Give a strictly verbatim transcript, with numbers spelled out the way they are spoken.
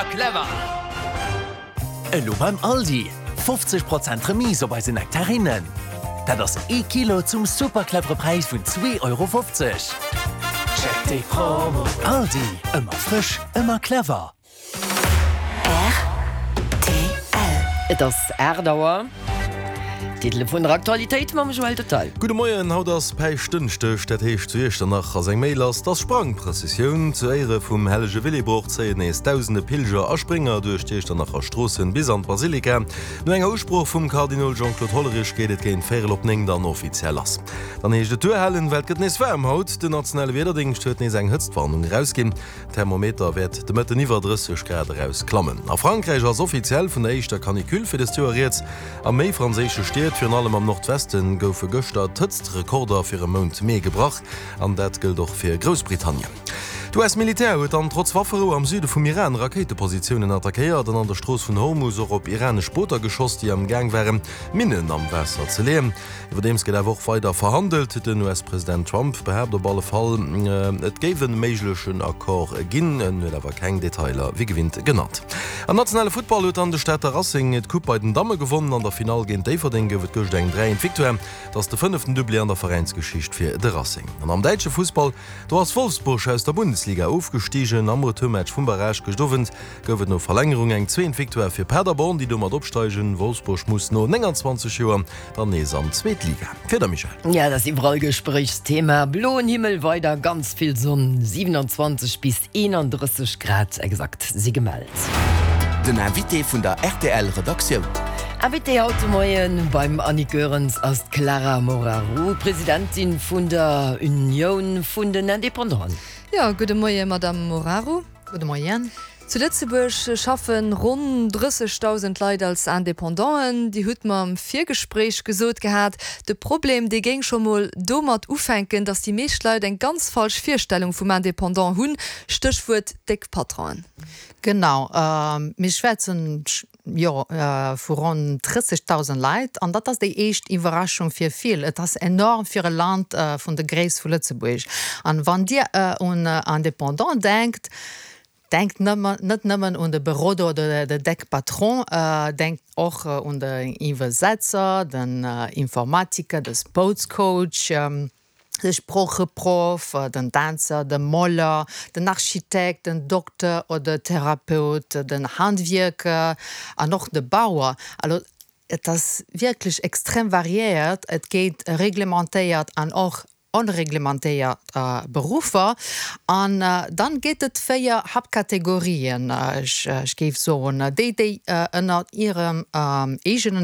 Ëmmer clever! Elo beim Aldi, fofzeg Prozent Remise op eise Nektarinnen. Dat ass ee Kilo zum super clevere Präis vun zwee Euro fofzeg. Check déi Promo! Aldi, ëmmer frësch, ëmmer clever! Rtl. Et ass aacht Auer. D'Titele vun der Aktualitéit mam Joël Detail. Gudde Moien, haut ass Päischtdënschdeg, dat heescht zu Iechternach ass eng Méi lass, 't ass Sprangprëssessioun. Zu Éiere vum hellege Willibrord zéien nees dausende Pilger a Sprénger duerch d'Iechternacher Stroossen bis an d'Basilika. No enger Usprooch vum Kardinol Jean-Claude Hollerich geet et géint véierel op néng dann offiziell lass. Dann heescht et duerhalen, well et gëtt nees waarm haut. Den nationale Wiederdéngscht huet nees eng Hëtztwarnung erausginn. Thermometer wäert de Mëtten iwwer drësseg Grad eraus klammen. A Frankräich ass offiziell vun der éischter Canicule fir dëst Joer rieds. A méi franséische Stied, virun allem am Nordwesten, goufe gëschter d'Hëtztrekorder fir e Mount Mee gebrach. An dat gëllt och fir Groussbritannien. D'U S-Militär huet dann trotz Wafferou am Süde vum Iran Rakéitepositiounen attackéiert an an der Strooss vun Hormus och op iranesch Booter geschoss, déi am Gaang waren, Minnen am Waasser ze leeën. Iwwerdeems gëtt awer och weider verhandelt. Den U S-President Trump behaapt op alle Fall, et géif e méiglechen Accord ginn. En huet awer keng Detailer wéi gewinnt genannt. Am nationale Futtball huet dann de Stater Racing d'Coupe bei den Damme gewonnen. An der Finall géint Déifferdeng gouf et gëscht eng dräi eent Victoire. Et ass de fënneften Doublé an der Veräinsgeschicht fir de Racing. An am däitsche Fussball, do ass Wolfsburg aus der Bundesliga ofgestigen. Am Retourmatch vum Barrage gëscht Owend gouf et no Verlängerung eng zwee eent Victoire fir Paderborn, déi domat opsteigen. Wolfsburg muss no nénganzwanzeg Joer dann nees an d'zweet Liga. Fir der Michèle. Ja, dat ass iwwerall Gespréichsthema. Bloen Himmel, weider ganz vill Sonn, siewenundzwanzeg bis eenandrësseg Grad exakt si gemellt. Den Invité vun der R T L Redaktioun. Invité haut de Moien beim Annick Goerens ass d'Clara Moraru, Presidentin vun der Unioun vun den Independanten. Jo, gudde Moie Madame Moraru. Gudde Moien. Zu Lëtzebuerg schaffe ronn drëssegdausend Leit als Independanten. Dir hutt mer am Virgespréich gesot gehat, de Problem dee géing scho mol domat ufänken, datt déi meescht Leit eng ganz falsch Virstellung vum Independant hunn, Stéchwuert déck Patronen. Genau, mir schwätzen jo vu ronn drëssegdausend Leit an dat ass déi éischt Iwwerraschung fir vill. Et ass enorm fir e Land vun der Gréisst vu Lëtzebuerg. An wann Dir un Independant denkt, denkt nëmmen, net nëmmen un de Beroder oder de déck Patron, denkt och un den Iwwersetzer, den Informatiker, de Sportscoach, de Sproocheproff, den Dänzer, de Moler, den Architekt, den Dokter oder Therapeut, den Handwierker an och de Bauer. Also et ass wierklech extrem variéiert, et gétt reglementéiert an och onreglementéiert Beruffer. An dann gétt et véier Haaptkategorien, ech géif soen, déi déi ënner hirem eegenen